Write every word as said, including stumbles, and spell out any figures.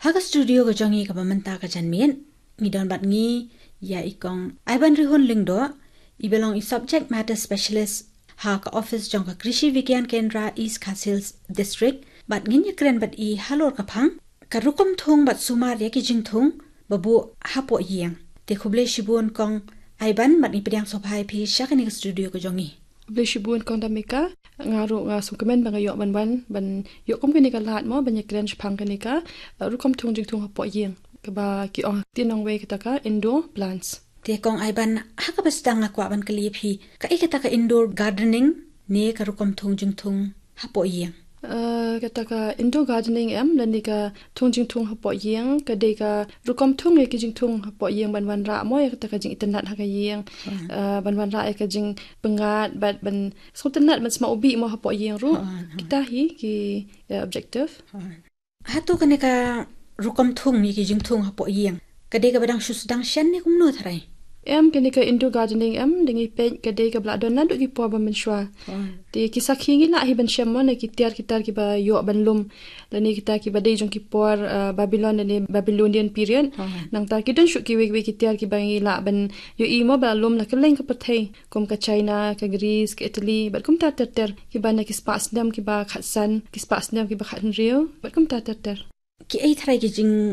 Ka studio ka jong ngi kaba mynta ka janmiet, ngi don bad ngi ïa i Kong Aiban Rihun Lyngdoh, i ba long i subject matter specialist ha ka office jong ka Krishi Vigyan Kendra East Khasi Hills District, bad ngin ïakren bad i halor ka phang ka rukom thung bad sumar ïa ki jingthung ba buh hapoh ïing. Te khublei shibun Kong Aiban, bad ngi pdiang sngewbha ïa phi sha kane ka studio ka jong ngi. Khublei shibun Kong Damika, nga ruh nga sngewkmen ba nga ïoh ban wan ban ïoh kum kane ka lad mo ban ïakren shaphang kane ka, eh, rukom thung jingthung hapoh ïing, kaba ki ong ha ktien nongwei kata ka indoor plants. Te Kong Aiban, ha kaba sdang nga kwah ban kylli ïa phi, kaei kata ka indoor gardening ne ka rukom thung jingthung hapoh ïing? Eh, kata ka indoor gardening em, lane ka thung jingthung hapoh ïing, ka dei ka rukom thung ïa ki jingthung hapoh ïing ban wanrah mo ïa kata ka jingitynnat ha ka ïing, eh, ban wanrah ïa ka jingpyngngad, bad ban sngewtynnat ban sma u bih mo hapoh ïing ruh. Kita hi ki, eh, objective. Hato kane ka rukom thung ïa ki jingthung hapoh ïing ka dei kaba dang shu sdang shen ne kumno tharai? Em, kane ka indoor gardening em, dang ïa peit ka dei kaba la don naduh ki por ba mynshuwa. Te ki sakhi ngi lah hi ban shem mo na ki tiar ki tar kiba ïoh ban lum, lane kita kiba dei jong ki por, eh, Babylon lane Babylonian period. Nangta ki don shuh kiwei kiwei ki tiar kiba ngi lah ban ïohi mo ba la lum la kylleng ka pyrthei, kum ka China, ka Greece, ka Italy, bad kumta ter ter, kiba na ki spah snem kiba khatsan, ki spah snem kiba khathynriew, bad kumta ter ter. Kiei tharai ki jing